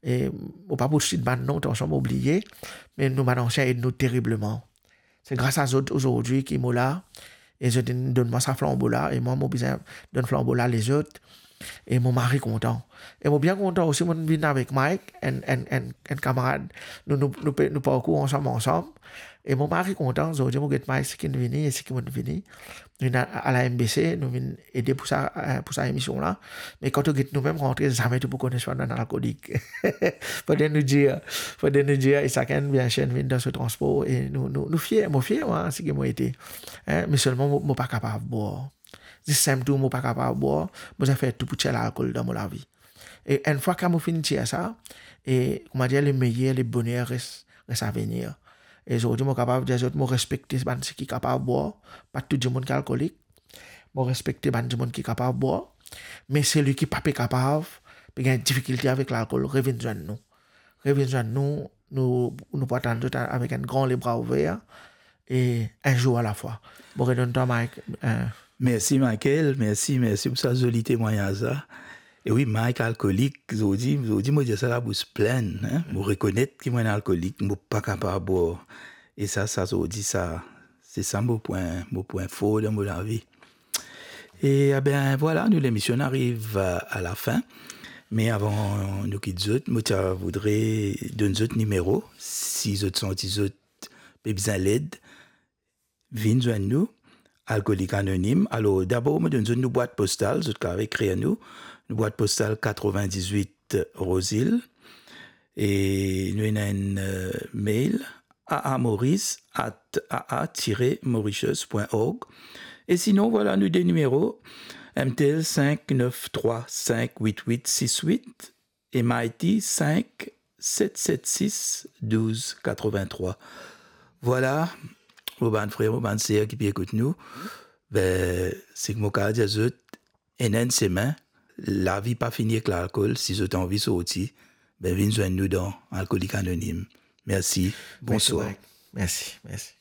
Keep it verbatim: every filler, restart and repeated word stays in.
E mo pa pou sit bann non, tansion mo bliye, me nou bann ansien ed nou teribleman. Se gras a zot azordi ki mo la, e zot inn donn mwa sa flanbo la, e mwa mo bizin donn flanbo la lezot, e mo mari kontan. E mo bien kontan osi, mo vinn avek Mike, enn, enn, enn, enn kamarad, nou, nou, nou pe, nou parkour ansam, ansam, e mo mari kontan, zordi mo get Mike seki vini, e seki mo vini, nou vinn a, a la M B C, nou vinn ede pou sa, eh, pou sa emision la. Me kan to get nou mem rantre, zame to pou kone swa nou enn alkolik. Fode nou dir, fode nou dir, e sakenn, biensir, vinn dan so transpor, e nou, nou, nou fier, mo fier, mwa, seki mo ete. Hein, me selman mo, mo pa kapav bwar. Zis sinp tou, mo pa kapav bwar, mo bizin fer tou pou tir lalkol dan mo lavi. E enn fwa ki mo finn tir sa, e, kouma dir, le meyer, le boner res, res a venir. E zordi, mo kapav dir zot, mo respekte bann seki kapav bwar, pa tou dimoun ki alkolik. Mo respekte bann dimoun ki kapav bwar, me selwi ki pa pe kapav, pe gagn difikilte avek lalkol, revinn zwenn nou. Revinn zwenn nou, nou, nou pou atann zot avek enn gran lebra ouver, e enn zour alafwa. Mo redonn twa, Mike, eh, Mersi, Michael, mersi, mersi pou sa zoli temwagnaz la. E wi, Mike alkolik, zordi, zordi mo dir sa labous plin, hein? Mo rekonet ki mo enn alkolik, mo pa kapav bwar. E sa, sa zordi, sa, se sa mo pwin, mo pwin for dan mo lavi. E, eben, vwala, nou lemision ariv a, a lafin. Me avan nou kit zot, mo ti a voudre donn zot nimero, si zot santi zot pe bizin led, vinn zwenn nou, Alkolik Anonim. Alor, dabor, mo donn zot nou bwat postal, zot kapav ekrir nou. Nou bwat postal katrevin-diz-wit Rose Hill. E nou ena enn, eh, mail, aamoris at aa tire mauritius pwin org. E sinon, vwala nou de nimero, M T L sink nef trwa sink wit wit sis wit, e Mighty sink set set sis douz katrevin trwa. Vwala, mo bann frer, mo bann ser ki pe ekout nou, be, seki mo kapav dir zot, ena enn semin, lavi pa fini ek lalkol, si zot anvi sorti, be, vinn zwenn nou dan Alkolik Anonim. Mersi, bonswar. Mersi, Mike. Mersi, mersi.